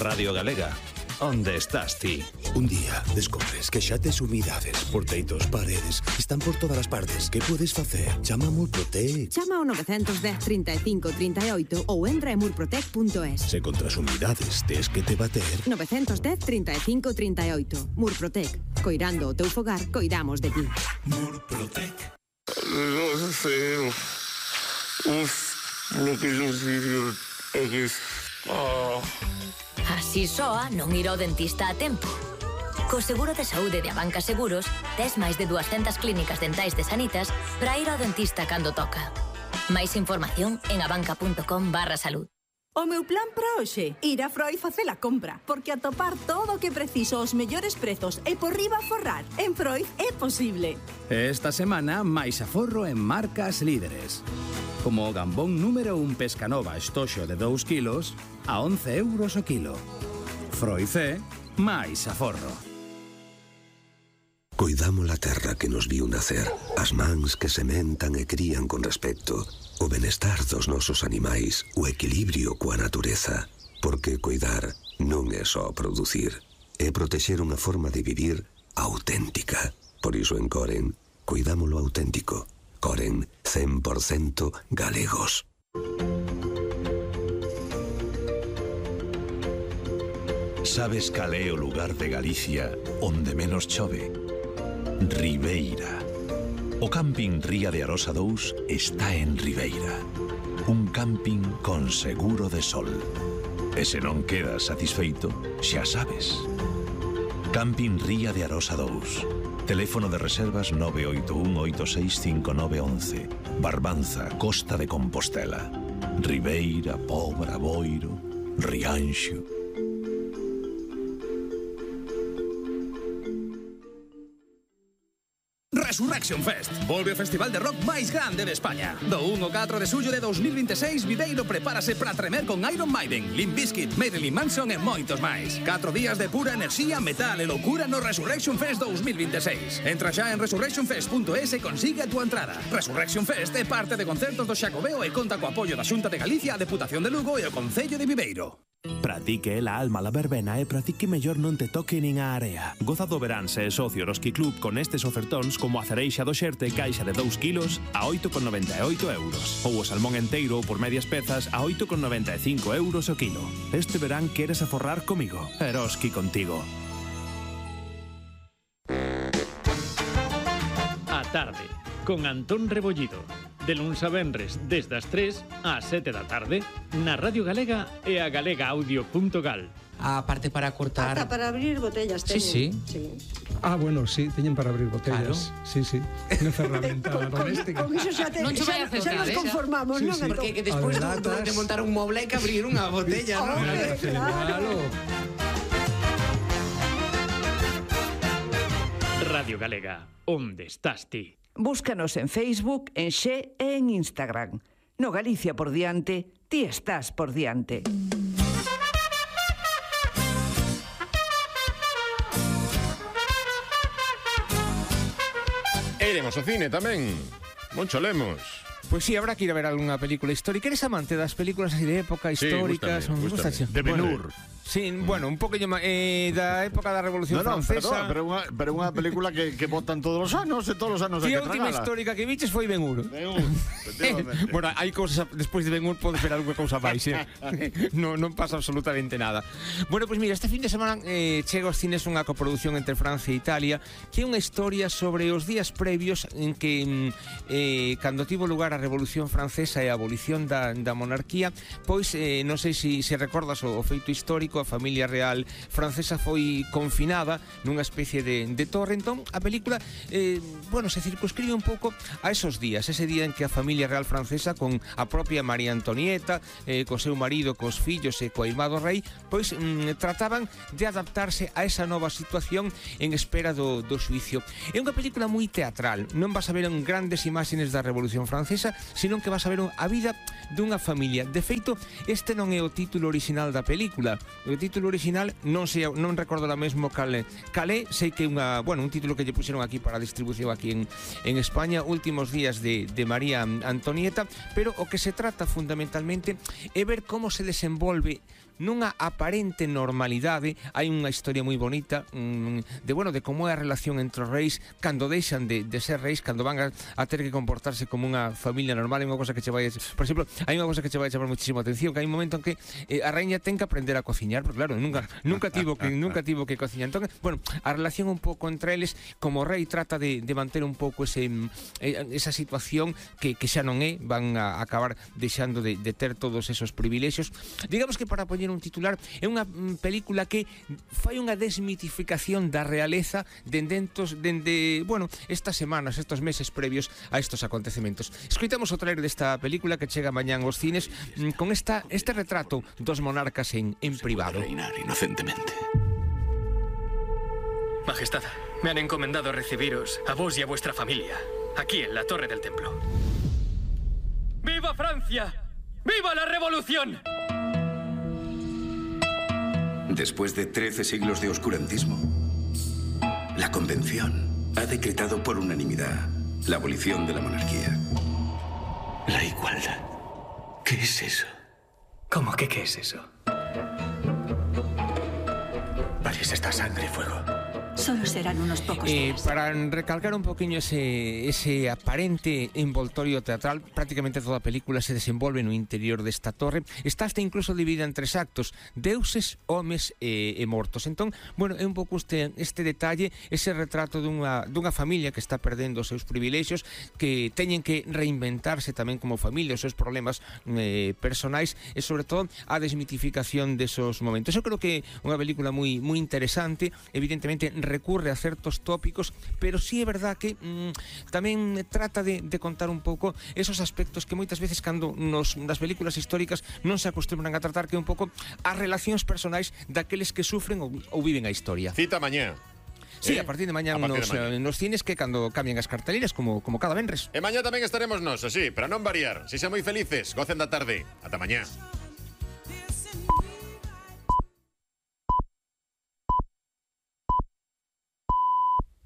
Radio Galega. Onde estás ti? Un día descubres que xa tes humidades, porteitos, paredes, están por todas as partes. Que podes facer? Chama a Murprotec. Chama ao 910 35 38 ou entra en murprotec.es. Se contra as humidades tes que te bater. 910 35 38. Murprotec. Coirando o teu fogar, coidamos de ti. Murprotec. Non sei. Lo que eu digo é que... Así soa non ir ao dentista a tempo. Co seguro de saúde de Abanca Seguros, tes máis de 200 clínicas dentais de Sanitas para ir ao dentista cando toca. Máis información en abanca.com/salud. O meu plan para hoxe, ir a Freud facer a compra, porque atopar todo o que preciso aos mellores prezos e por riba forrar. En Freud é posible. Esta semana, máis aforro en marcas líderes. Como o gambón número 1 Pescanova estoxo de 2 kilos a 11 euros o kilo. Freud é máis aforro. Coidamos a terra que nos viu nacer, as mans que sementan e crían con respecto, o benestar dos nosos animais, o equilibrio coa natureza, porque coidar non é só producir, é protexer unha forma de vivir auténtica. Por iso en Coren, coidámolo auténtico. Coren, 100% galegos. Sabes cal é o lugar de Galicia onde menos chove? Ribeira. O camping Ría de Arosa 2 está en Ribeira. Un camping con seguro de sol. E se non quedas satisfeito, xa sabes. Camping Ría de Arosa 2. Teléfono de reservas 981-865911. Barbanza, Costa de Compostela. Ribeira, Pobra, Boiro, Rianxo. Resurrection Fest. Volve o festival de rock máis grande de España. Do 1 ao 4 de xullo de 2026, Viveiro prepárase para tremer con Iron Maiden, Limp Bizkit, Marilyn Manson e moitos máis. 4 días de pura enerxía, metal e loucura no Resurrection Fest 2026. Entra xa en resurrectionfest.es e consigue a túa entrada. Resurrection Fest é parte de concertos do Xacobeo e conta co apoio da Xunta de Galicia, a Deputación de Lugo e o Concello de Viveiro. Para ti que é la alma la verbena e para ti que mellor non te toque nin a area. Goza do verán se é socio do Ski Club con estes ofertóns como a cereixa do xerte caixa de 2 kilos a 8,98 euros. Ou o salmón enteiro por medias pezas a 8,95 euros o kilo. Este verán queres aforrar comigo. Eroski contigo. A tarde, con Antón Rebollido. De luns a venres, desde as 3 ás 7 da tarde, na Radio Galega e a galegaaudio.gal. A parte para cortar... Ata para abrir botellas teñen. Sí. Ah, bueno, sí, teñen para abrir botellas. Claro. Sí, sí. Unha ferramenta doméstica. Con iso xa non xa nos conformamos, sí, non? Sí. Porque que despois de montar un moble hai que abrir unha botella, non? Claro. Radio Galega, onde estás ti? Búscanos en Facebook, en Xe e en Instagram. No Galicia por diante, ti estás por diante. Iremos ao cine tamén. Moncho Lemos. Pois sí, habrá que ir a ver algunha película histórica. Eres amante das películas así de época, históricas? Sí, gústame. De Ben-Hur. Sí, bueno, un poquinho da época da Revolución Francesa. Pero unha película que botan todos os anos e todos os anos hai que tragala. A última histórica que viches foi Ben-Hur. Bueno, hai cousas, despois de Ben-Hur pode ser algunha cousa máis, non pasa absolutamente nada. Bueno, pois mira, este fin de semana chega aos cines unha coproducción entre Francia e Italia, que é unha historia sobre os días previos en que cando tivo lugar a Revolución Francesa e a abolición da monarquía, pois non sei se recordas o feito histórico. A familia real francesa foi confinada nunha especie de torre. Entón a película se circunscribe un pouco a esos días, ese día en que a familia real francesa, con a propia María Antonieta, co seu marido, cos fillos e co irmán do rei, pois trataban de adaptarse a esa nova situación en espera do xuicio. É unha película moi teatral, non vas a ver grandes imaxes da Revolución Francesa, senón que vas a ver a vida dunha familia. De feito, este non é o título orixinal da película. O título original non recordo la mesmo calé, sei que un título que lle puxeron aquí para a distribución aquí en España, Últimos días de María Antonieta, pero o que se trata fundamentalmente é ver como se desenvolve nunha aparente normalidade. Hai unha historia moi bonita de como é a relación entre os reis cando deixan de ser reis, cando van a ter que comportarse como unha familia normal. Hai unha cosa que che vai, por exemplo, hai unha cosa que che vai chamar muchísimo atención, que hai un momento en que a reina ten que aprender a cociñar, porque claro, nunca tivo que cociñar. Entón, a relación un pouco entre eles, como o rei trata de manter un pouco esa situación que xa non é, van a acabar deixando de ter todos esos privilexios. Digamos que, para poñer un titular, é unha película que fai unha desmitificación da realeza dende estas semanas, estos meses previos a estos acontecementos. Escoitamos o trailer desta película que chega mañán aos cines con este retrato dos monarcas en privado. Reinar inocentemente. Majestad, me han encomendado recibiros a vos y a vuestra familia aquí en la Torre del Templo. ¡Viva Francia! ¡Viva la Revolución! Después de 13 siglos de oscurantismo, la Convención ha decretado por unanimidad la abolición de la monarquía. La igualdad. ¿Qué es eso? ¿Cómo que qué es eso? París está sangre y fuego. Solo serán unos pocos días. Para recalcar un poquinho ese aparente envoltorio teatral, prácticamente toda a película se desenvolve no interior desta torre. Está hasta incluso dividida en 3 actos: deuses, homes e mortos. Entón, é un pouco este detalle, ese retrato dunha familia que está perdendo os seus privilexios, que teñen que reinventarse tamén como familia, os seus problemas personais, e sobre todo a desmitificación desos momentos. Eu creo que é unha película moi interesante. Evidentemente recurre a certos tópicos, pero sí é verdad que tamén trata de contar un pouco esos aspectos que moitas veces cando nas películas históricas non se acostumbran a tratar, que é un pouco as relacións personais daqueles que sufren ou viven a historia. Cita mañá. Sí, a partir de mañá nos cines, que cando cambian as carteliras como cada venres. E mañá tamén estaremos nós, así, para non variar. Si sean moi felices, gocen da tarde. Ata mañá.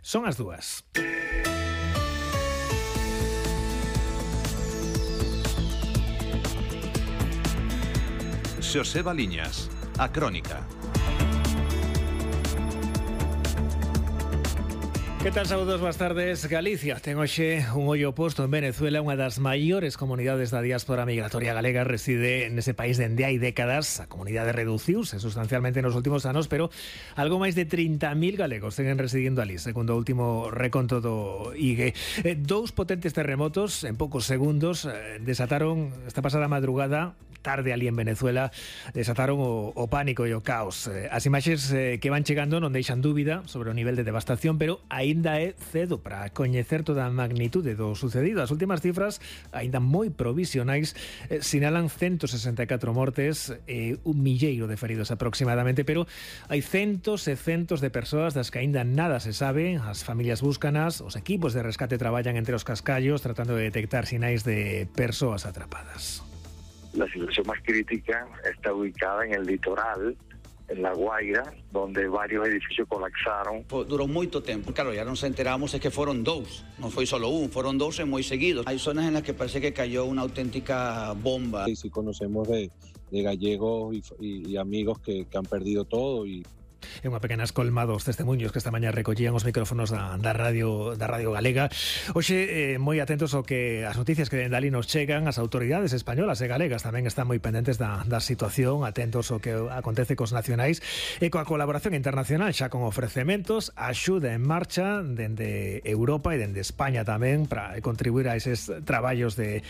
Son as 2. Xoseba Liñas, a Crónica. Que tal, saúdos, boas tardes. Galicia ten hoxe un ollo posto en Venezuela. Unha das maiores comunidades da diáspora migratoria galega reside nese país dende hai décadas. A comunidade reduciuse sustancialmente nos últimos anos, pero algo máis de 30.000 galegos seguen residindo ali, segundo o último reconto do IGE. 2 potentes terremotos en poucos segundos desataron esta pasada madrugada, tarde ali en Venezuela, desataron o pánico e o caos. As imaxes que van chegando non deixan dúbida sobre o nivel de devastación, pero aínda é cedo para coñecer toda a magnitude do sucedido. As últimas cifras, aínda moi provisionais, sinalan 164 mortes e 1.000 de feridos aproximadamente, pero hai centos e centos de persoas das que aínda nada se sabe. As familias búscanas, os equipos de rescate traballan entre os cascallos tratando de detectar sinais de persoas atrapadas. La situación más crítica está ubicada en el litoral, en La Guaira, donde varios edificios colapsaron. Durou moito tempo. Claro, ya nos enteramos es que foron 2, non foi solo un, foron 2 e moi seguidos. Hay zonas en las que parece que cayó una auténtica bomba. Sí, conocemos de gallegos y amigos que han perdido todo y... É unha pequena escolma dos testemunhos que esta mañá recollían os micrófonos da radio galega. Hoxe, moi atentos ao que as noticias que dende ali nos chegan. As autoridades españolas e galegas tamén están moi pendentes da situación, atentos ao que acontece cos nacionais e coa colaboración internacional, xa con ofrecementos, axuda en marcha dende Europa e dende España tamén para contribuir a eses traballos de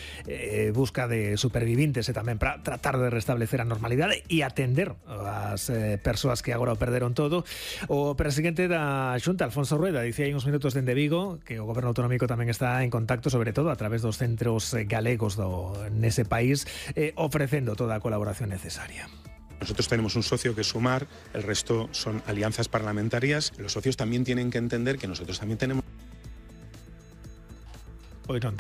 busca de supervivintes e tamén para tratar de restablecer a normalidade e atender as persoas que agora o perderon todo. O presidente da Xunta, Alfonso Rueda, dicía hai uns minutos dende Vigo que o goberno autonómico tamén está en contacto, sobre todo a través dos centros galegos nese país, ofrecendo toda a colaboración necesaria. Nosotros tenemos un socio que es Sumar, el resto son alianzas parlamentarias. Los socios también tienen que entender que nosotros también tenemos... Hoy non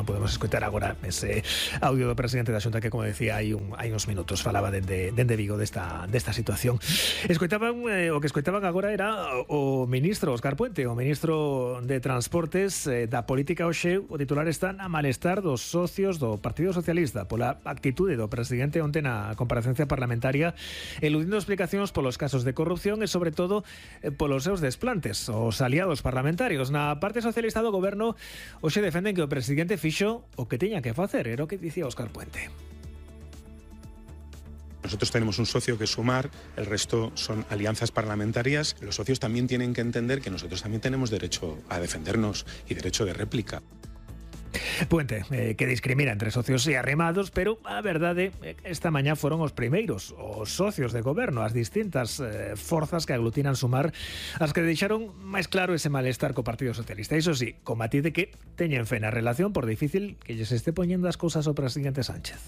podemos escoitar agora ese audio do presidente da Xunta que, como decía, hai uns minutos falaba dende Vigo desta situación. O que escoitaban agora era o ministro Óscar Puente, o ministro de Transportes da Política hoxe. O titular está na malestar dos socios do Partido Socialista pola actitude do presidente onte na comparecencia parlamentaria, eludindo explicacións polos casos de corrupción e, sobre todo, polos seus desplantes. Os aliados parlamentarios na parte socialista do goberno hoxe defenden que o presidente fixo o que teña que facer, era o que dicía Óscar Puente. Nosotros tenemos un socio que es Sumar, el resto son alianzas parlamentarias. Los socios también tienen que entender que nosotros también tenemos derecho a defendernos y derecho de réplica. Puente, que discrimina entre socios e arremados, pero a verdade, esta mañá foron os primeiros, os socios de goberno, as distintas forzas que aglutinan Sumar, as que deixaron máis claro ese malestar co Partido Socialista. Iso sí, con matiz de que teñen fe na relación, por difícil que lles este poñendo as cousas ao presidente Sánchez.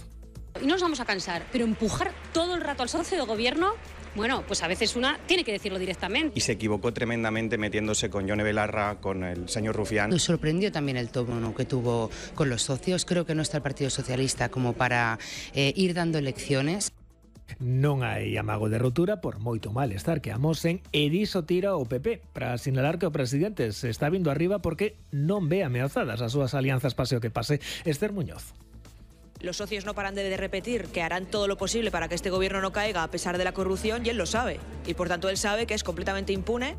Y no nos vamos a cansar, pero empujar todo el rato al socio de gobierno, bueno, pues a veces una tiene que decirlo directamente. Y se equivocó tremendamente metiéndose con Yone Belarra, con el señor Rufián. Nos sorprendió también el tono que tuvo con los socios. Creo que no está el Partido Socialista como para ir dando lecciones. Non hai amago de rotura por moito malestar que amosen, e diso tira o PP para sinalar que o presidente se está vindo arriba porque non ve ameazadas as súas alianzas pase o que pase. Esther Muñoz. Los socios no paran de repetir que harán todo lo posible para que este gobierno no caiga a pesar de la corrupción, y él lo sabe. Y por tanto él sabe que es completamente impune.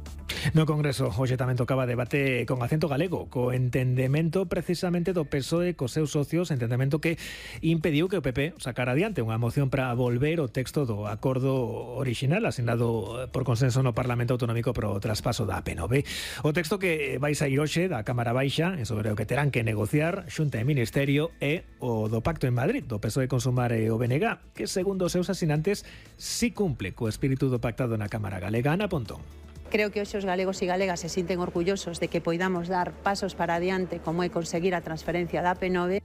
No Congreso hoxe tamén tocaba debate con acento galego, co entendemento precisamente do PSOE cos seus socios, entendemento que impediu que o PP sacara adiante unha moción para volver o texto do acordo original asinado por consenso no Parlamento Autonómico pro traspaso da PNV. O texto que vai sair hoxe da Cámara Baixa sobre o que terán que negociar Xunta e Ministerio é o do Pacto en Madrid, do PSOE con Sumar e o BNG, que segundo os seus asinantes si cumple co espírito do pactado na Cámara Galega. Ana Pontón. Creo que hoxe os galegos e galegas se sinten orgullosos de que poidamos dar pasos para adiante como é conseguir a transferencia da P9.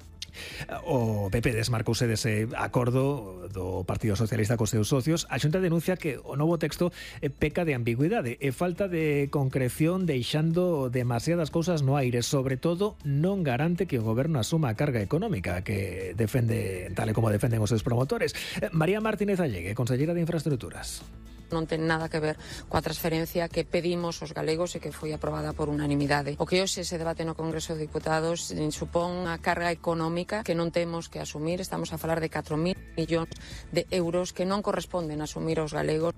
O PP desmarcouse dese acordo do Partido Socialista cos seus socios. A Xunta denuncia que o novo texto peca de ambigüidade e falta de concreción, deixando demasiadas cousas no aire. Sobre todo, non garante que o goberno asuma a carga económica que defende, tal e como defenden os seus promotores. María Martínez Allegue, consellera de Infraestructuras. Non ten nada que ver coa transferencia que pedimos os galegos e que foi aprobada por unanimidade. O que hoxe se debate no Congreso de Diputados supón unha carga económica que non temos que asumir. Estamos a falar de 4.000 millóns de euros que non corresponden asumir aos galegos.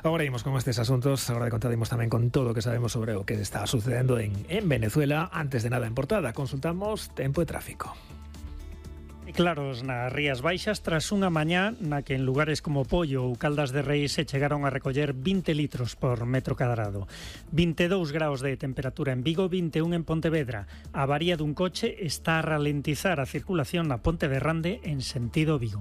Agora imos con estes asuntos. Agora de contadimos tamén con todo o que sabemos sobre o que está sucedendo en Venezuela. Antes de nada en portada, consultamos tempo e tráfico. Claros nas Rías Baixas tras unha mañá na que en lugares como Pollo ou Caldas de Reis se chegaron a recoller 20 litros por metro cadrado. 22 graus de temperatura en Vigo, 21 en Pontevedra. A avaría dun coche está a ralentizar a circulación na Ponte de Rande en sentido Vigo.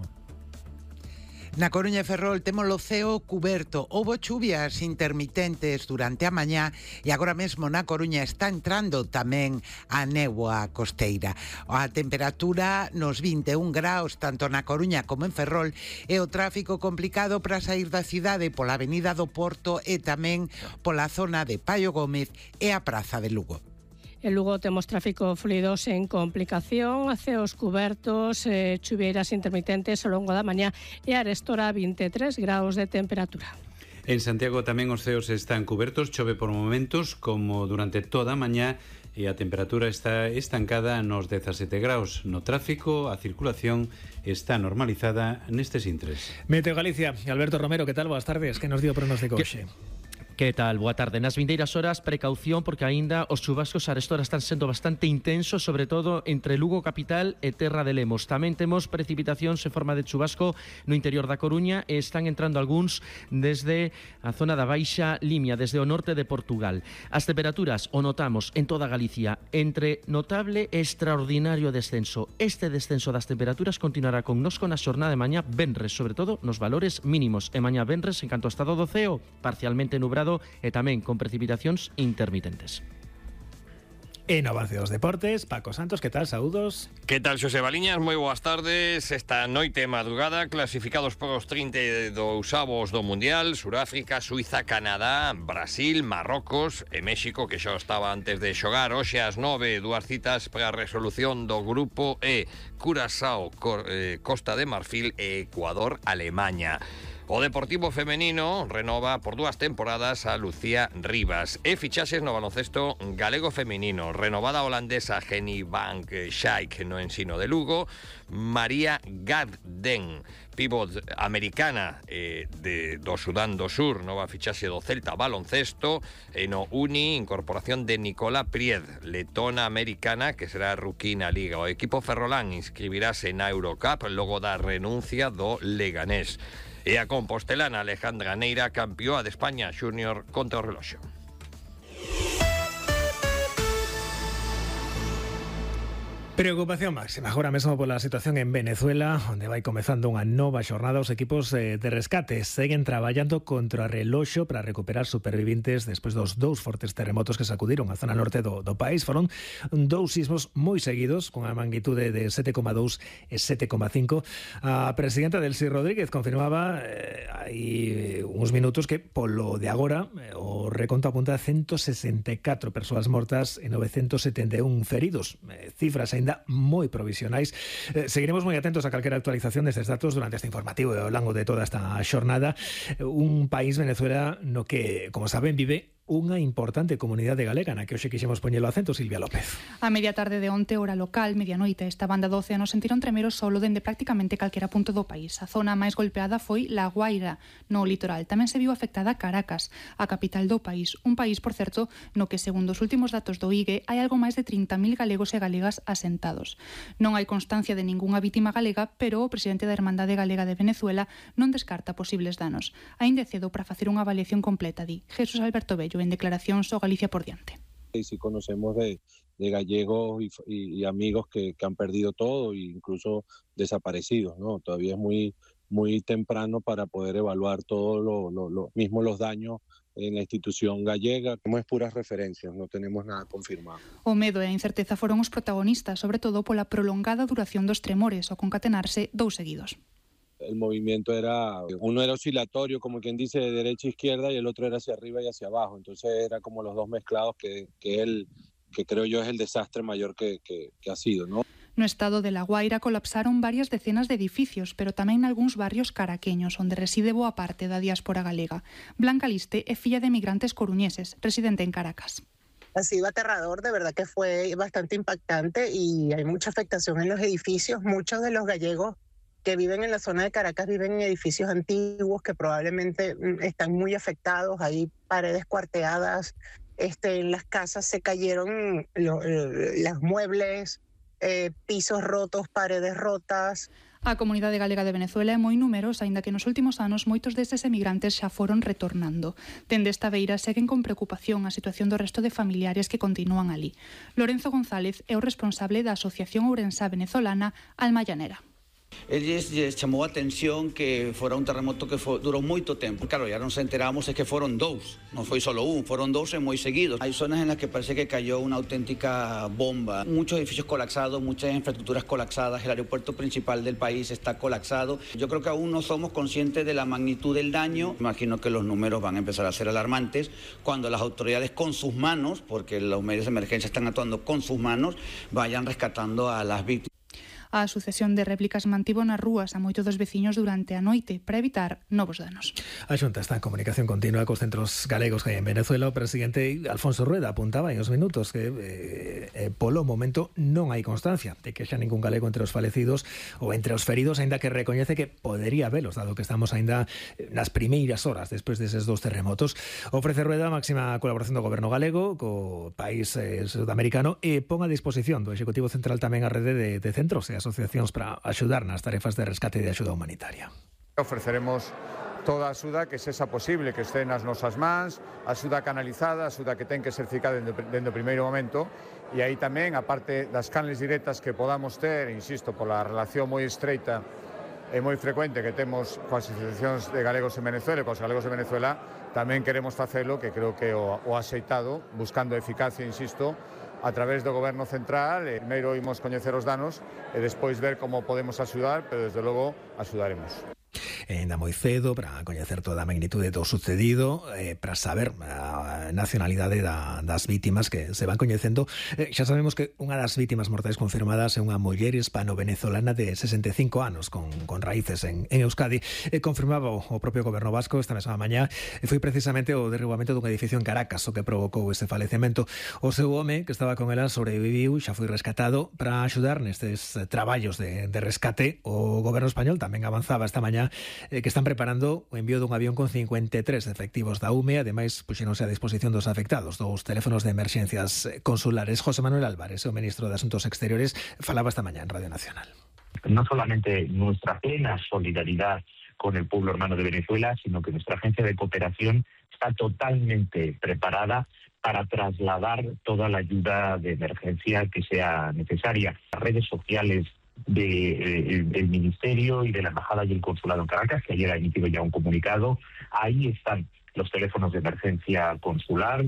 Na Coruña e Ferrol temos o ceo cuberto. Houbo chuvias intermitentes durante a mañá e agora mesmo na Coruña está entrando tamén a néboa costeira. A temperatura nos 21 graus tanto na Coruña como en Ferrol e o tráfico complicado para sair da cidade pola Avenida do Porto e tamén pola zona de Paio Gómez e a Praza de Lugo. En Lugo temos tráfico fluido sen complicación, ceos cubertos, chuvieiras intermitentes ao longo da mañá e arestora 23 graus de temperatura. En Santiago tamén os ceos están cubertos, chove por momentos como durante toda a mañá e a temperatura está estancada nos 17 graus. No tráfico, a circulación está normalizada nestes intres. Meteo Galicia, Alberto Romero, que tal? Boas tardes, que nos dio pronóstico hoxe? Que tal? Boa tarde. Nas vindeiras horas, precaución porque aínda os chubascos arestora están sendo bastante intensos, sobre todo entre Lugo capital e Terra de Lemos. Tamén temos precipitacións en forma de chubasco no interior da Coruña e están entrando algúns desde a zona da Baixa Limia, desde o norte de Portugal. As temperaturas o notamos en toda Galicia entre notable e extraordinario descenso. Este descenso das temperaturas continuará con nos con a xornada de mañá venres, sobre todo nos valores mínimos. E mañá venres, en canto ao estado do ceo, parcialmente nubrado e tamén con precipitacións intermitentes. En avance dos deportes, Paco Santos, que tal? Saúdos. Que tal, Xosé Baliñas? Moi boas tardes. Esta noite madrugada, clasificados para os 32avos do Mundial, Suráfrica, Suiza, Canadá, Brasil, Marrocos e México, que xa estaba antes de xogar. Hoxe ás 9, dúas citas para a resolución do grupo E: Curazao, Costa de Marfil e Ecuador, Alemaña. O Deportivo femenino renova por 2 temporadas a Lucía Rivas. E fichaxes no baloncesto galego femenino. Renovada a holandesa Jenny Van Schaik no ensino de Lugo. María Garden, pívot americana do Sudán do Sur, nova fichaxe do Celta baloncesto. E no Uni, incorporación de Nicola Pried, letona americana, que será rookie na Liga. O equipo ferrolán inscribirase na Eurocup logo da renuncia do Leganés. E a compostelana Alejandra Neira, campeoa de España Júnior contra o reloxo. Preocupación máxima agora mesmo pola situación en Venezuela, onde vai comezando unha nova xornada. Os equipos de rescate seguen traballando contra o reloxo para recuperar supervivintes despois dos 2 fortes terremotos que sacudiron a zona norte do país. Foron 2 sismos moi seguidos, con a magnitude de 7,2 e 7,5. A presidenta Delcy Rodríguez confirmaba hai uns minutos que polo de agora o reconto apunta a 164 persoas mortas e 971 feridos, cifras aínda moi provisionais. Seguiremos moi atentos a calquera actualización destes datos durante este informativo e ao longo de toda esta xornada. Un país, Venezuela, no que, como saben, vive unha importante comunidade galega na que hoxe quixemos poñelo acento. Silvia López. A media tarde de onte, hora local, medianoite, esta banda do océano sentiron tremer o solo dende prácticamente calquera punto do país. A zona máis golpeada foi La Guaira, no litoral. Tamén se viu afectada Caracas, a capital do país. Un país, por certo, no que, segundo os últimos datos do IGE, hai algo máis de 30.000 galegos e galegas asentados. Non hai constancia de ningunha vítima galega, pero o presidente da Hermandade Galega de Venezuela non descarta posibles danos. Aínda é cedo para facer unha avaliación completa, di Jesús Alberto Bello en declaracións ao Galicia por diante. Y si conocemos de gallegos y amigos que han perdido todo, e incluso desaparecidos, ¿no? Todavía es muy temprano para poder evaluar todo los daños en la institución gallega. Tenemos puras referencias, no tenemos nada confirmado. O medo e a incerteza foron os protagonistas, sobre todo pola prolongada duración dos tremores, ao concatenarse 2 seguidos. El movimiento uno era oscilatorio, como quien dice, de derecha a izquierda, y el otro era hacia arriba y hacia abajo. Entonces era como los dos mezclados, que creo yo es el desastre mayor que ha sido, ¿no? No estado de La Guaira colapsaron varias decenas de edificios, pero tamén nalgúns barrios caraqueños, onde reside boa parte da diáspora galega. Blanca Liste é filla de migrantes coruñeses, residente en Caracas. Ha sido aterrador, de verdad que fue bastante impactante y hay mucha afectación en los edificios. Muchos de los gallegos que viven en la zona de Caracas viven en edificios antiguos que probablemente están muy afectados. Hay paredes cuarteadas, en las casas se cayeron los muebles, pisos rotos, paredes rotas. A comunidade galega de Venezuela é moi numerosa, aínda que nos últimos anos moitos destes emigrantes xa foron retornando. Dende esta beira seguen con preocupación a situación do resto de familiares que continúan ali. Lorenzo González é o responsable da Asociación Ourensá Venezolana Alma Llanera. Eles chamou a atención que fora un terremoto que durou moito tempo. Claro, ya nos enteramos es que foron 2, non foi solo un, foron 2 e moi seguidos. Hai zonas en las que parece que cayó una auténtica bomba. Muchos edificios colapsados, muchas infraestructuras colapsadas, el aeropuerto principal del país está colapsado. Yo creo que aún no somos conscientes de la magnitud del daño. Imagino que los números van a empezar a ser alarmantes cuando las autoridades con sus manos, porque los medios de emergencia están actuando con sus manos, vayan rescatando a las víctimas. A sucesión de réplicas mantivo nas rúas a moitos dos veciños durante a noite para evitar novos danos. A Xunta está en comunicación continua cos centros galegos que hai en Venezuela. O presidente Alfonso Rueda apuntaba en os minutos que polo momento non hai constancia de que xa ningún galego entre os falecidos ou entre os feridos, aínda que recoñece que podería habelos, dado que estamos aínda nas primeiras horas despois deses 2 terremotos. Ofrece Rueda a máxima colaboración do goberno galego co país sudamericano e pon a disposición do Executivo Central tamén a rede de centros e asociacións para axudar nas tarefas de rescate e de axuda humanitaria. Ofreceremos toda a axuda que sexa posible que este nas nosas mans, axuda canalizada, axuda que ten que ser ficada dende o primeiro momento, e aí tamén, a parte das canles directas que podamos ter, insisto, pola relación moi estreita e moi frecuente que temos coas asociacións de galegos en Venezuela e coas galegos de Venezuela, tamén queremos facelo, que creo que o axeitado, buscando eficacia, insisto, a través do Goberno Central. Primeiro imos coñecer os danos e despois ver como podemos axudar, pero desde logo axudaremos. Ainda moi cedo para coñecer toda a magnitude do sucedido, para saber a nacionalidade das vítimas que se van coñecendo. Xa sabemos que unha das vítimas mortais confirmadas é unha muller hispano-venezolana de 65 anos con raíces en Euskadi. Confirmaba o propio goberno vasco esta mesma mañá, foi precisamente o derribamento dun edificio en Caracas o que provocou ese falecemento. O seu home, que estaba con ela, sobreviviu, xa foi rescatado. Para axudar nestes traballos de rescate, o goberno español tamén avanzaba esta mañá que están preparando o envío dun avión con 53 efectivos da UME. Ademais, puxéronse a disposición dos afectados dos teléfonos de emerxencias consulares. José Manuel Álvarez, o ministro de Asuntos Exteriores, falaba esta mañá en Radio Nacional. No solamente nuestra plena solidaridad con el pueblo hermano de Venezuela, sino que nuestra agencia de cooperación está totalmente preparada para trasladar toda la ayuda de emergencia que sea necesaria. Las redes sociales del Ministerio y de la Embajada y el Consulado en Caracas, que ayer ha emitido ya un comunicado, ahí están los teléfonos de emergencia consular.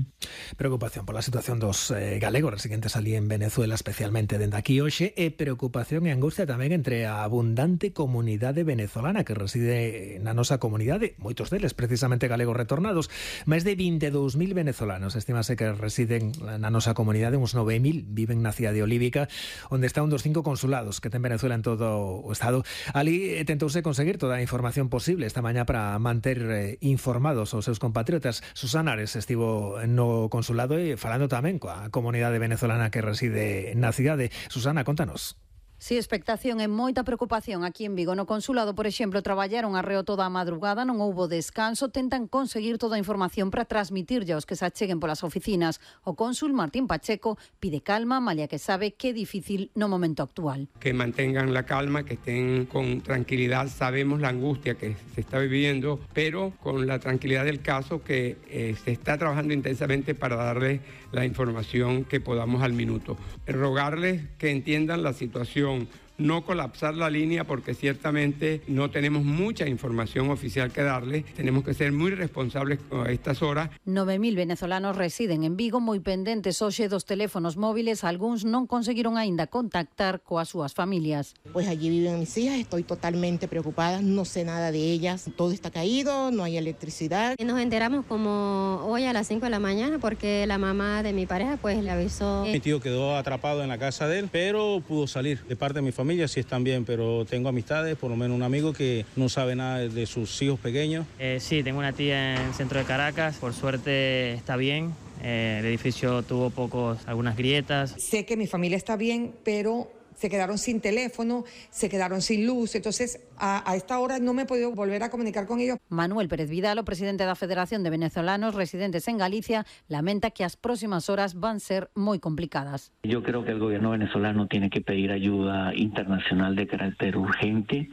Preocupación pola situación dos galegos residentes ali en Venezuela, especialmente dende aquí hoxe, e preocupación e angustia tamén entre a abundante comunidade venezolana que reside na nosa comunidade, moitos deles precisamente galegos retornados. Máis de 22.000 venezolanos estimase que residen na nosa comunidade, uns 9.000 viven na cidade olívica, onde está un dos 5 consulados que ten Venezuela en todo o estado. Ali tentouse conseguir toda a información posible esta mañá para manter informados os seus compatriotas. Susana Ares estivo no consulado e falando tamén coa comunidade venezolana que reside na cidade. Susana, contanos. Si, expectación e moita preocupación aquí en Vigo. No consulado, por exemplo, traballaron arreo toda a madrugada, non houbo descanso, tentan conseguir toda a información para transmitirlle aos que se acheguen polas oficinas. O cónsul Martín Pacheco pide calma, malia que sabe que é difícil no momento actual. Que mantengan la calma, que estén con tranquilidad. Sabemos la angustia que se está viviendo, pero con la tranquilidad del caso que se está trabajando intensamente para darles la información que podamos al minuto. Rogarles que entiendan la situación, no colapsar la línea porque ciertamente no tenemos mucha información oficial que darles. Tenemos que ser muy responsables a estas horas. 9.000 venezolanos residen en Vigo, moi pendentes hoxe dos teléfonos móviles. Algúns non conseguiron aínda contactar coas súas familias. Pues allí viven mis hijas, estoy totalmente preocupada, no sé nada de ellas. Todo está caído, no hay electricidad. Nos enteramos como hoy a las 5 de la mañana porque la mamá de mi pareja pues le avisó. Mi tío quedó atrapado en la casa de él, pero pudo salir. De parte de mi familia sí están bien, pero tengo amistades, por lo menos un amigo que no sabe nada de sus hijos pequeños. Sí, tengo una tía en el centro de Caracas, por suerte está bien. El edificio tuvo algunas grietas. Sé que mi familia está bien, pero se quedaron sin teléfono, se quedaron sin luz, entonces a esta hora no me he podido volver a comunicar con ellos. Manuel Pérez Vidal, o presidente da Federación de Venezolanos Residentes en Galicia, lamenta que as próximas horas van ser moi complicadas. Yo creo que el gobierno venezolano tiene que pedir ayuda internacional de carácter urgente,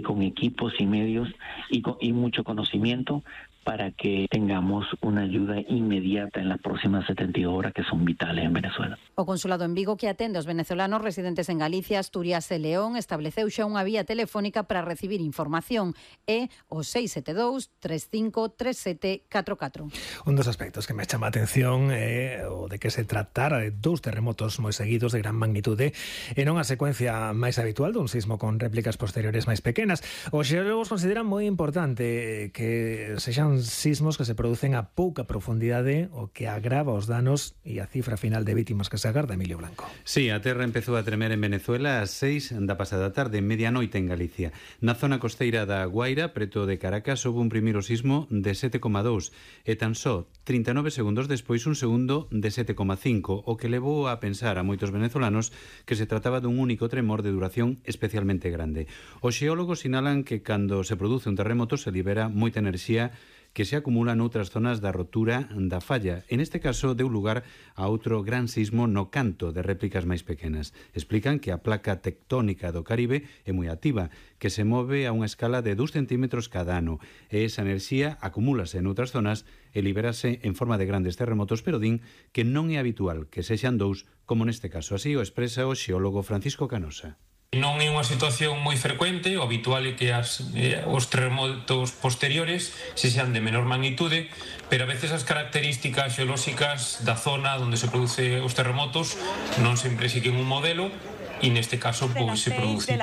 con equipos y medios y mucho conocimiento, para que tengamos una ayuda inmediata en las próximas 72 horas que son vitales en Venezuela. O consulado en Vigo, que atende aos venezolanos residentes en Galicia, Asturias e León, estableceu xa unha vía telefónica para recibir información, é o 672 35 37 44. Un dos aspectos que me chama a atención é o de que se tratara de dous terremotos moi seguidos de gran magnitude e non a secuencia máis habitual dun sismo con réplicas posteriores máis pequenas. Os xeólogos consideran moi importante que sexan sismos que se producen a pouca profundidade, o que agrava os danos e a cifra final de vítimas que se agarda. Emilio Blanco. Sí, a terra empezou a tremer en Venezuela ás 6 da pasada tarde, medianoite en Galicia. Na zona costeira da Guaira, preto de Caracas, houve un primeiro sismo de 7,2 e tan só 39 segundos despois un segundo de 7,5, o que levou a pensar a moitos venezolanos que se trataba dun único tremor de duración especialmente grande. Os xeólogos sinalan que cando se produce un terremoto se libera moita enerxía que se acumula noutras zonas da rotura da falla. En este caso, deu lugar a outro gran sismo no canto de réplicas máis pequenas. Explican que a placa tectónica do Caribe é moi activa, que se move a unha escala de 2 centímetros cada ano, e esa enerxía acumúlase en outras zonas e liberase en forma de grandes terremotos, pero din que non é habitual que sexan dous, como neste caso. Así o expresa o xeólogo Francisco Canosa. Non é unha situación moi frecuente, o habitual é que os terremotos posteriores se sean de menor magnitude, pero a veces as características xeolóxicas da zona onde se produce os terremotos non sempre siguen un modelo e neste caso pois se produce.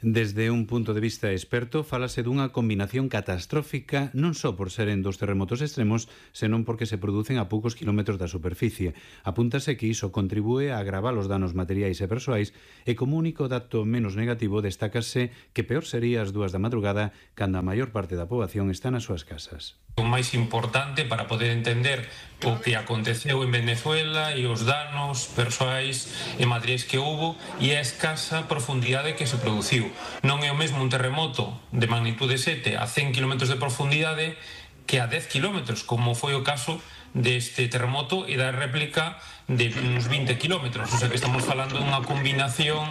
Desde un punto de vista experto, fálase dunha combinación catastrófica non só por seren dos terremotos extremos, senón porque se producen a poucos kilómetros da superficie. Apúntase que iso contribúe a agravar os danos materiais e persoais e como único dato menos negativo destácase que peor sería as 2 da madrugada cando a maior parte da poboación está nas súas casas. O máis importante para poder entender o que aconteceu en Venezuela e os danos persoais e materiais que houbo e a escasa profundidade que se produciu. Non é o mesmo un terremoto de magnitude 7 a 100 km de profundidade que a 10 km, como foi o caso deste terremoto e da réplica de uns 20 km. O sea que estamos falando dunha combinación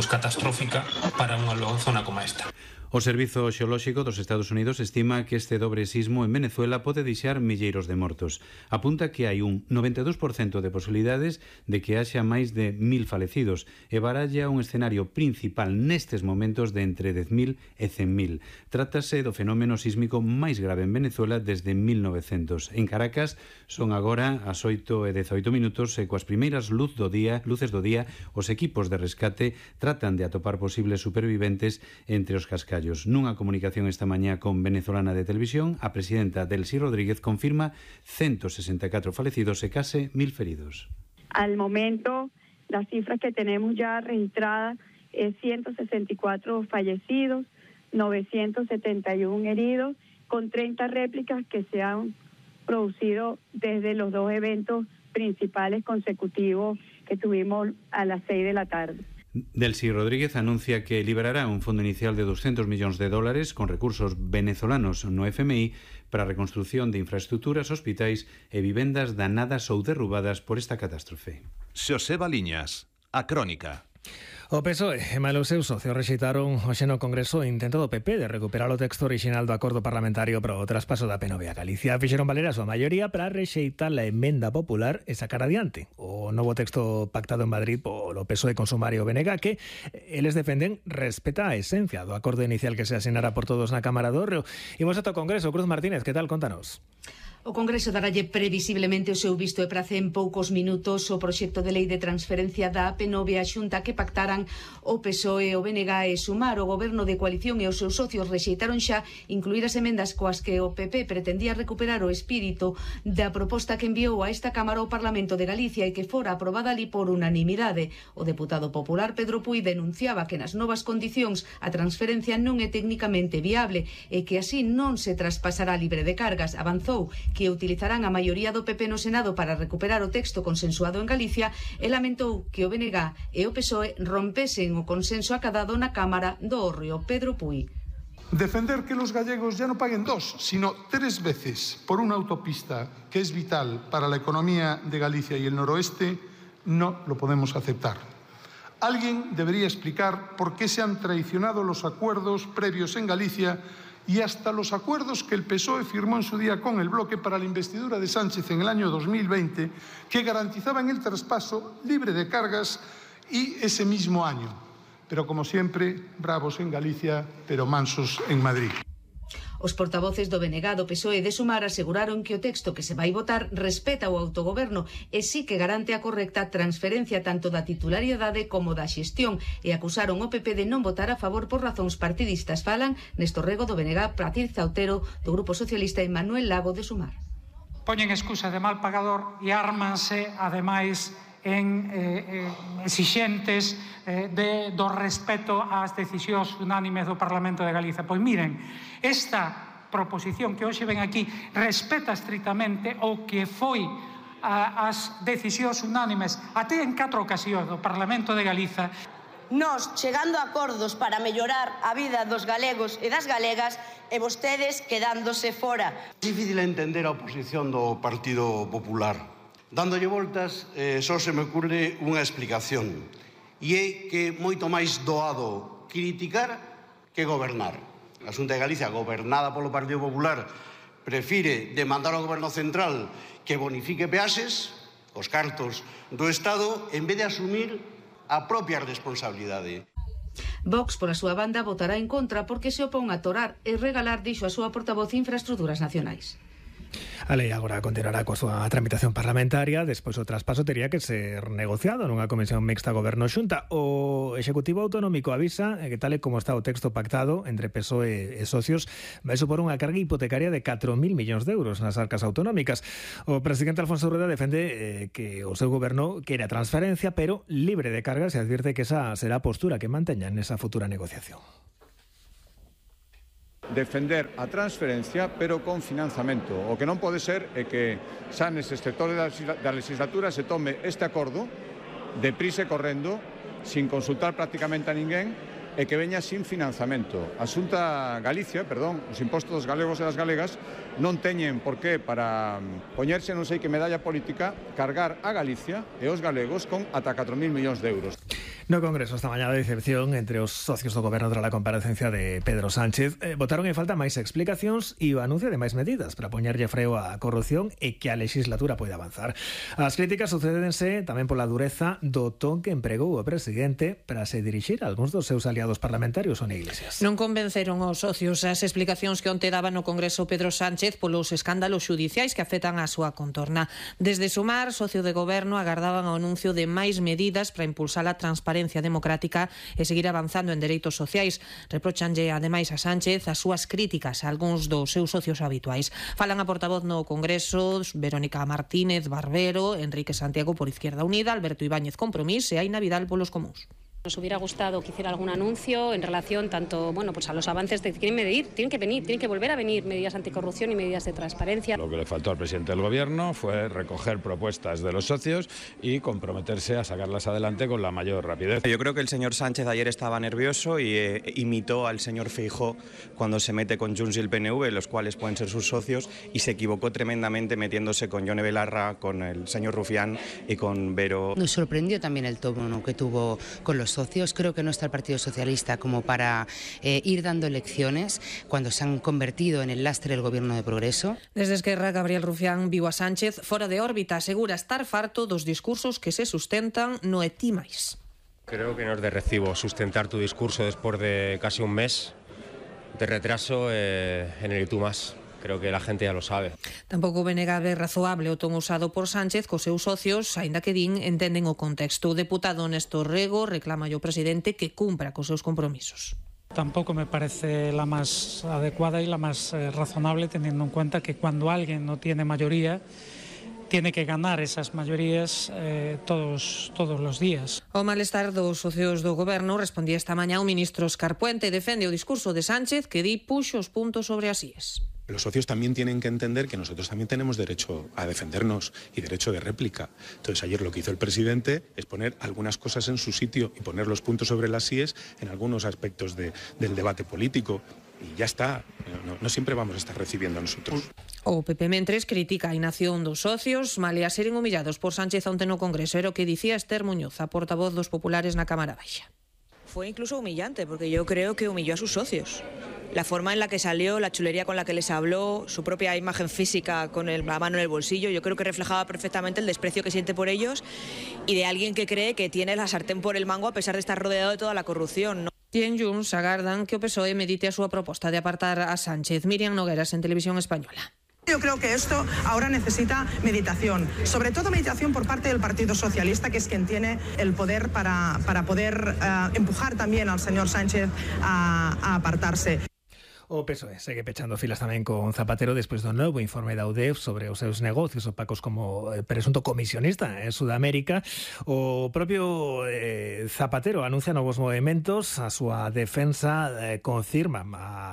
catastrófica para unha zona como esta. O Servizo Xeolóxico dos Estados Unidos estima que este dobre sismo en Venezuela pode deixar milleiros de mortos. Apunta que hai un 92% de posibilidades de que haxa máis de 1.000 falecidos e baralla un escenario principal nestes momentos de entre 10.000 e 100.000. Trátase do fenómeno sísmico máis grave en Venezuela desde 1900. En Caracas son agora as 8:18 e coas primeiras luces do día os equipos de rescate tratan de atopar posibles superviventes entre os cascallos. Nunha comunicación esta mañá con Venezolana de Televisión, a presidenta Delcy Rodríguez confirma 164 fallecidos e case 1.000 feridos. Al momento, las cifras que tenemos ya registradas es 164 fallecidos, 971 heridos, con 30 réplicas que se han producido desde los 2 eventos principales consecutivos que tuvimos a las 6 de la tarde. Delcy Rodríguez anuncia que liberará un fondo inicial de $200 millones con recursos venezolanos no FMI para a reconstrucción de infraestructuras, hospitais e vivendas danadas ou derrubadas por esta catástrofe. Xoseba Liñas, A Crónica. O PSOE e malos seus socios rexeitaron hoxe no Congreso o intento do PP de recuperar o texto orixinal do acordo parlamentario para o traspaso da PNV a Galicia. Fixeron valer a súa maioría para rexeitar a emenda popular e sacar adiante o novo texto pactado en Madrid polo PSOE con Sumar e o BNG, que eles defenden respeta a esencia do acordo inicial que se asinara por todos na Cámara do Reo. Imos ata o Congreso. Cruz Martínez, que tal? Contanos. O Congreso daralle previsiblemente o seu visto e prace en poucos minutos o proxecto de lei de transferencia da AP9 á Xunta que pactaran o PSOE, o BNG e Sumar. O Goberno de coalición e os seus socios rexeitaron xa incluir as emendas coas que o PP pretendía recuperar o espírito da proposta que enviou a esta Cámara ao Parlamento de Galicia e que fora aprobada ali por unanimidade. O deputado popular Pedro Puy denunciaba que nas novas condicións a transferencia non é técnicamente viable e que así non se traspasará libre de cargas. Avanzou que utilizarán a maioría do PP no Senado para recuperar o texto consensuado en Galicia e lamentou que o BNG e o PSOE rompesen o consenso acadado na Cámara do Hórreo. Pedro Puy. Defender que los gallegos ya no paguen 2, sino 3 veces por una autopista que es vital para la economía de Galicia y el noroeste, no lo podemos aceptar. Alguien debería explicar por qué se han traicionado los acuerdos previos en Galicia y hasta los acuerdos que el PSOE firmó en su día con el bloque para la investidura de Sánchez en el año 2020, que garantizaban el traspaso libre de cargas y ese mismo año. Pero como siempre, bravos en Galicia, pero mansos en Madrid. Os portavoces do BNG, do PSOE e de Sumar aseguraron que o texto que se vai votar respeta o autogoberno e sí que garante a correcta transferencia tanto da titularidade como da xestión e acusaron o PP de non votar a favor por razóns partidistas. Falan Néstor Rego do BNG, Patricia Otero do Grupo Socialista e Manuel Lago de Sumar. Poñen excusa de mal pagador e ármanse, ademais, en exixentes do respeto ás decisións unánimes do Parlamento de Galicia. Pois miren, esta proposición que hoxe ven aquí respeta estritamente o que foi as decisións unánimes até en 4 ocasións do Parlamento de Galiza. Nós chegando a acordos para mellorar a vida dos galegos e das galegas e vostedes quedándose fora. É difícil entender a oposición do Partido Popular. Dándolle voltas, só se me ocurre unha explicación. E é que é moito máis doado criticar que gobernar. A Xunta de Galicia, gobernada polo Partido Popular, prefire demandar ao Goberno Central que bonifique peaxes, os cartos do Estado, en vez de asumir a propia responsabilidade. Vox, pola súa banda, votará en contra porque se opón a torar e regalar, dixo a súa portavoz de Infraestructuras Nacionais. A lei agora continuará coa súa tramitación parlamentaria, despois o traspaso tería que ser negociado nunha comisión mixta Goberno-Xunta. O Executivo Autonómico avisa que tal e como está o texto pactado entre PSOE e socios vai supor unha carga hipotecaria de 4.000 millóns de euros nas arcas autonómicas. O presidente Alfonso Rueda defende que o seu goberno quere a transferencia, pero libre de cargas, e advirte que esa será a postura que manteñan nesa futura negociación. Defender a transferencia, pero con financiamento. O que non pode ser é que xa nese sector da legislatura se tome este acordo deprisa e correndo, sin consultar prácticamente a ninguén, e que veña sin financiamento. A Xunta Galicia, os impostos dos galegos e das galegas non teñen por qué para poñerse non sei que medalla política cargar a Galicia e os galegos con ata 4.000 millóns de euros. No Congreso esta mañá de decepción entre os socios do Goberno tras a comparecencia de Pedro Sánchez. Votaron en falta máis explicacións e o anuncio de máis medidas para poñerlle freo á corrupción e que a legislatura poida avanzar. As críticas sucédense tamén pola dureza do ton que empregou o presidente para se dirixir a algúns dos seus aliados parlamentarios ou Iglesias. Non convenceron os socios as explicacións que onte daba no Congreso Pedro Sánchez polos escándalos xudiciais que afectan a súa contorna. Desde Sumar, socio de Goberno, agardaban o anuncio de máis medidas para impulsar a transparencia democrática e seguir avanzando en dereitos sociais. Reprochanlle ademais a Sánchez as súas críticas a algúns dos seus socios habituais. Falan a portavoz no Congreso Verónica Martínez Barbero, Enrique Santiago por Izquierda Unida, Alberto Ibáñez Compromís e Aina Vidal polos Comuns. Nos hubiera gustado que hiciera algún anuncio en relación tanto pues a los avances de que quieren medir, tienen que volver a venir medidas anticorrupción y medidas de transparencia. Lo que le faltó al presidente del Gobierno fue recoger propuestas de los socios y comprometerse a sacarlas adelante con la mayor rapidez. Yo creo que el señor Sánchez ayer estaba nervioso y imitó al señor Feijóo cuando se mete con Junts y el PNV, los cuales pueden ser sus socios, y se equivocó tremendamente metiéndose con Yone Belarra, con el señor Rufián y con Vero. Nos sorprendió también el tono que tuvo con los socios. Creo que no está el Partido Socialista como para ir dando lecciones cuando se han convertido en el lastre del Gobierno de Progreso. Desde Esquerra, Gabriel Rufián viu a Sánchez fora de órbita, asegura estar farto dos discursos que se sustentan no e ti máis. Creo que no es de recibo sustentar tu discurso después de casi un mes de retraso en el y tú más. Creo que la gente ya lo sabe. Tampouco Benegabe razoable o ton usado por Sánchez cos seus socios, aínda que din entenden o contexto. O deputado Néstor Rego reclama ao presidente que cumpra cos seus compromisos. Tampoco me parece la más adecuada y la más razonable, teniendo en cuenta que cuando alguien no tiene mayoría, tiene que ganar esas mayorías todos los días. O malestar dos socios do Goberno respondía esta mañá o ministro Escarpuente, defende o discurso de Sánchez que di puxo os puntos sobre as íes. Los socios también tienen que entender que nosotros también tenemos derecho a defendernos y derecho de réplica. Entonces ayer lo que hizo el presidente es poner algunas cosas en su sitio y poner los puntos sobre las íes en algunos aspectos del debate político. Y ya está, no siempre vamos a estar recibiendo a nosotros. O PP Mentres critica a inacción dos socios, malia seren humillados por Sánchez onte no Congreso. Era o que dicía Esther Muñoz, a portavoz dos populares na Cámara Baixa. Fue incluso humillante, porque yo creo que humilló a sus socios. La forma en la que salió, la chulería con la que les habló, su propia imagen física con la mano en el bolsillo, yo creo que reflejaba perfectamente el desprecio que siente por ellos y de alguien que cree que tiene la sartén por el mango a pesar de estar rodeado de toda la corrupción, ¿no? E en Junts agardan que o PSOE medite a súa proposta de apartar a Sánchez. Miriam Nogueras, en Televisión Española. Yo creo que esto ahora necesita meditación, sobre todo meditación por parte del Partido Socialista, que es quien tiene el poder para poder empujar también al señor Sánchez a apartarse. O PSOE segue pechando filas tamén con Zapatero despois do novo informe da UDEF sobre os seus negocios opacos como presunto comisionista en Sudamérica. O propio Zapatero anuncia novos movimentos, a súa defensa confirma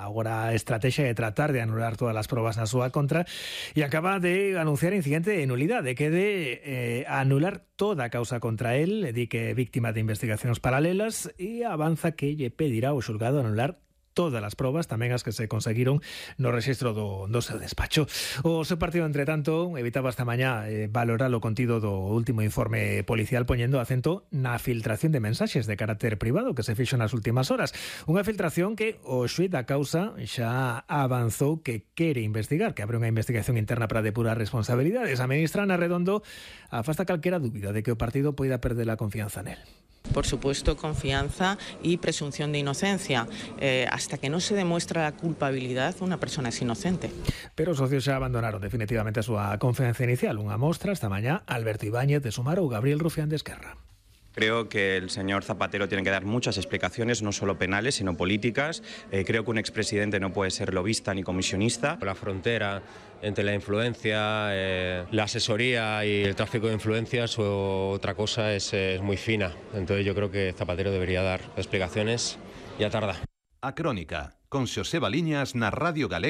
agora a estrategia de tratar de anular todas as probas na súa contra e acaba de anunciar incidente de nulidade que de anular toda a causa contra él, di que é víctima de investigacións paralelas e avanza que lle pedirá ao xulgado anular todas as probas, tamén as que se conseguiron no rexistro do seu despacho. O seu partido, entre tanto, evitaba esta mañá valorar o contido do último informe policial poñendo acento na filtración de mensaxes de carácter privado que se fixo nas últimas horas. Unha filtración que o xuíz da causa xa avanzou que quere investigar, que abre unha investigación interna para depurar responsabilidades. A ministra Ana Redondo afasta calquera dúbida de que o partido poida perder a confianza nel. por supuesto, confianza y presunción de inocencia. Hasta que no se demuestra la culpabilidad, una persona es inocente. Pero os socios xa abandonaron definitivamente a súa confianza inicial. Unha mostra esta mañá Alberto Ibáñez de Sumar ou Gabriel Rufián de Esquerra. Creo que el señor Zapatero tiene que dar muchas explicaciones, no solo penales, sino políticas. Creo que un expresidente no puede ser lobista ni comisionista. La frontera entre la influencia, la asesoría y el tráfico de influencias o otra cosa es muy fina. Entonces yo creo que Zapatero debería dar explicaciones. Ya tarda. A Crónica, con Xosé Baliñas na Radio Galega.